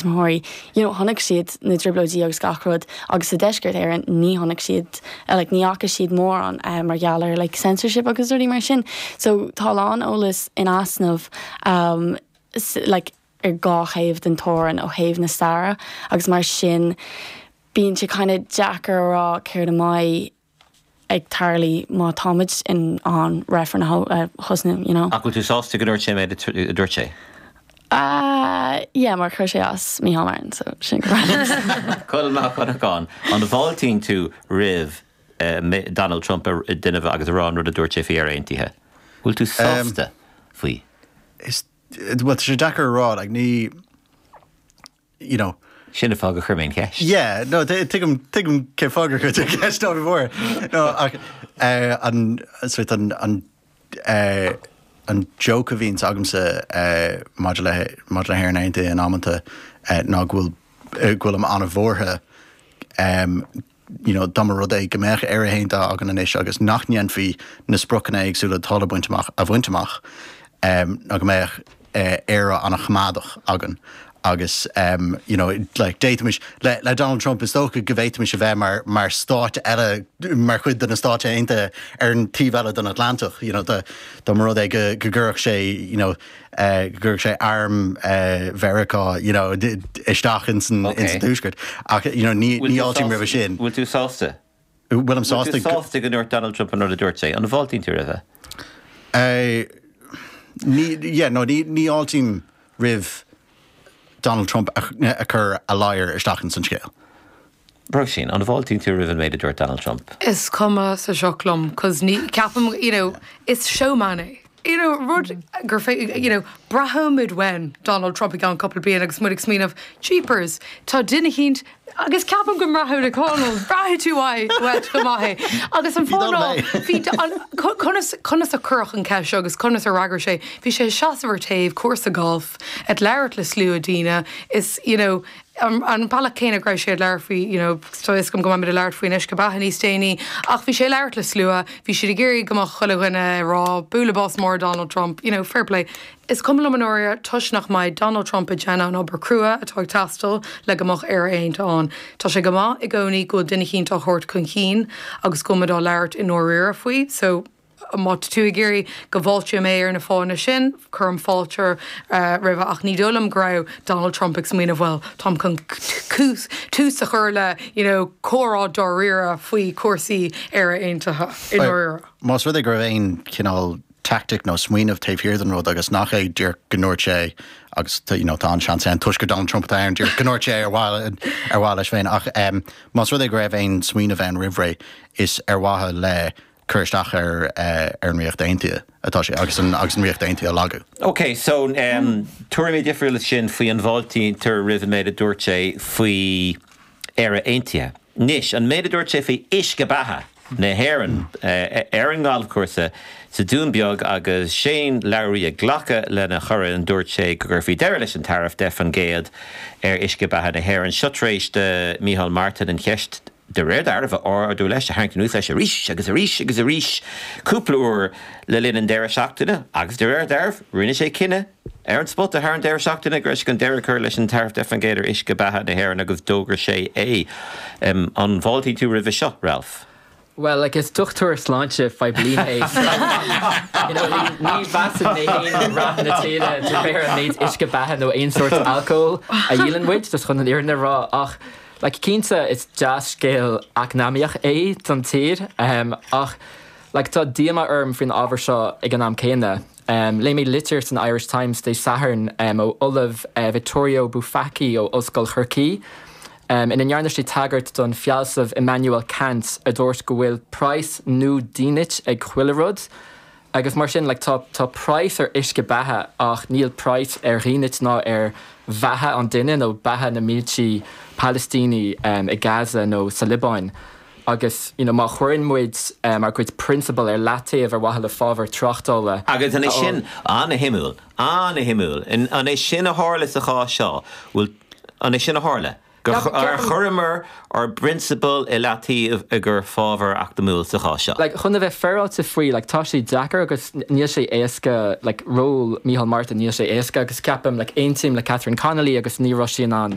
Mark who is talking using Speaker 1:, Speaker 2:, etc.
Speaker 1: Tuismitheoirí, you know, chonaic siad na trioblóidí agus gach rud agus sa deisceart Éireann ní chonaic siad, like, ní fhaca siad mórán mar gheall ar like censorship agus rudaí mar sin. So tá a lán eolas in easnamh um, like, ar dhá thaobh den teorainn ó thaobh na staire agus mar sin bíonn sé kind of deacair a rá céard a mbeidh ag tarlú má táimid in ann reifreann a thosnú, you know.
Speaker 2: Ach bhfuil tú sásta go ndúirt sé an méid a dúirt sé?
Speaker 1: Ah, yeah, mar chuir sé as Micheál Martin, so sin go breá.
Speaker 2: Colm Mac Dhonnacháin, an bhfáiltíonn tú roimh Donald Trump a déanamh agus a rá an rud a dúirt sé faoi Éire Aontaithe? Bhfuil tú sásta faoi?
Speaker 3: Is, bhuel, tá sé deacair a rá, like, ní, you know.
Speaker 2: Sin an fáth gur chuir mé an cheist.
Speaker 3: Yeah, no, tuigim, tuigim cén fáth gur chuir tú an cheist, ná bí buartha. No, ach eh, an, sort an, an, eh, an joke a bhíonns agamsa eh, maidir le, maidir le hÉirinn Aontaithe in amanta eh, ná go bhfuil, eh, go bhfuilim an-bhuartha em, you know, dá mba rud é go mbeadh Éire Aontaithe againn anois agus nach ndéanfaí na spriocanna éagsúla atá le baint amach a bhaint amach, ná go mbeadh Éire an-choimeádach againn agus um, you know, like, d'fhéadfaimis, le, le Donald Trump is dócha go bhféadfaimis a bheith mar, mar stát eile, mar chuid de na Stáit Aontaithe ar an taobh eile den Atlantach, you know, dá, dá mba rud é go, go gcuirfeadh sé, you know, go gcuirfeadh sé arm Mheiriceá you know isteach ins an tuaisceart ach you know ní ní fháiltím roimhe sin.
Speaker 2: Bhfuil tú sásta?
Speaker 3: Bhfuilim sásta?
Speaker 2: Bhfuil tú sásta go ndúirt Donald Trump an rud a dúirt sé? An bhfáiltíonn tú roimhe?
Speaker 3: Ní yeah no ní ní fháiltím roimh Donald Trump a chur a ladhar isteach ins an scéal.
Speaker 2: Róisín, an bhfáiltíonn tú roimh an méid a dúirt Donald Trump?
Speaker 4: Is cuma sa sioc liom 'cause ní, ceapaim, you know, is showman é. You know, rud gur fé, you know, braithfimid uainn Donald Trump i gceann cúpla bliain agus muid ag smaoineamh, jeepers, tá duine eicínt, agus ceapaim go mbraithfidh Conall, braithfidh tú uait, uait go maith é. Agus an fáth ná, bhí, an, conas, conas a cuireadh an cheist seo agus conas a fhreagair sé, bhí sé ag seasamh ar taobh cúrsa gailf, ag labhairt le slua daoine, is, you know, An bealach céanna go raibh sé ag labhairt faoi, you know, tá fhios agam go mbeimid ag labhairt faoin uisce beatha níos déanaí, ach bhí sé ag labhairt le slua, bhí siad ag iarraidh go mbeadh chuile dhuine ag rá bualadh bos mór Donald Trump, you know, fair play. Is cuma liom i ndáiríre toisc nach mbeidh Donald Trump ag déanamh an obair crua atá ag teastáil le go mbeadh Éire Aontaithe ann. Tá sé go maith i gcónaí go bhfuil duine eicínt á thabhairt chun cinn agus go bhfuil muid á labhairt i ndáiríre faoi, so, Má tá tú ag iarraidh go bhfáilteoidh mé ar na fáthanna sin, cuirim fáilte roimhe ach ní dóigh liom go raibh Donald Trump ag smaoineamh bhuel, táim chun tús a chur le you know comhrá dáiríre faoi chúrsaí Éire Aontaithe i ndáiríre.
Speaker 3: Más rud é go raibh aon chineál tactic nó smaoineamh taobh thiar den rud agus nach é díreach go ndúirt sé agus you know tá an-seans ann toisc gur Donald Trump atá ann díreach go ndúirt sé ar mhaithe ar mhaithe leis féin ach más rud é go raibh aon smaoineamh ann roimh ré is ar mhaithe le cur isteach ar ar an Ríocht Aontaithe atá sé agus an agus an Ríocht Aontaithe a lagú.
Speaker 2: Ok, so tuairimí difriúla sin faoi an bhfáiltítear roimh an méid a dúirt sé faoi Éire Aontaithe. Anois, an méid a dúirt sé faoi uisce beatha na hÉireann ar an ngalfchúrsa sa Dún Beag agus Shane Lowry ag glacadh lena chorn, dúirt sé go gcuirfí deireadh leis an taraif 10% ar uisce beatha na hÉireann. Seo tar éis do Micheál Martin an cheist de réir dealraimh, a ardú leis, a tharraingt anuas leis arís agus arís agus arís cúpla uair le linn an deireadh seachtaine agus de réir dealraimh, rinne sé cinneadh ar an spota thar an deireadh seachtaine go raibh sé chun deireadh a chur leis an taraif 10% ar uisce beatha na hÉireann agus d'fhógair sé é. An bhfáiltíonn tú roimhe seo, Ralph?
Speaker 5: Bhuel, like, is dochtúir sláinte phoiblí mé, so, you know, ní, ní mheasann mé féin rath na tíre de réir an méid uisce beatha nó aon sórt alcóil a dhíolann muid, just chun an fhírinne a rá. Ach, like, cinnte, is dea-scéal eacnamaíoch é don tír, um, ach, like, tá díomá orm faoin ábhar seo ag an am céanna. Léigh mé litir san Irish Times Dé Sathairn ó Ollamh Vittorio Bufacchi ó Ollscoil Chorcaí ina ndearna sé tagairt don fealsamh Immanuel Kant a dúirt go bhfuil praghas nó dínit ag chuile rud agus mar sin like tá tá praghas ar uisce beatha ach níl praghas ar dhínit ná ar bheatha an duine nó beatha na mílte Palaistíní i Gaza nó sa Liobáin. Agus, you know, má chuireann muid ár gcuid prionsabal ar leataobh ar mhaithe le fabhar tráchtála
Speaker 2: Agus an é sin, an-shuimiúil, an-shuimiúil, an é sin a tharla sa chás seo, bhfuil, an é sin a tharla? Ar chuireamar ár bprionsabail i leataobh i gcomhair fábhar eacnamúil sa chás seo?
Speaker 5: Like, chun a bheith féaráilte faoi, like, tá sé deacair agus níl sé éasca, like, ról Micheál Martin, níl sé éasca agus ceapaim, like, aontaím le Catherine Connolly agus ní raibh sí in ann.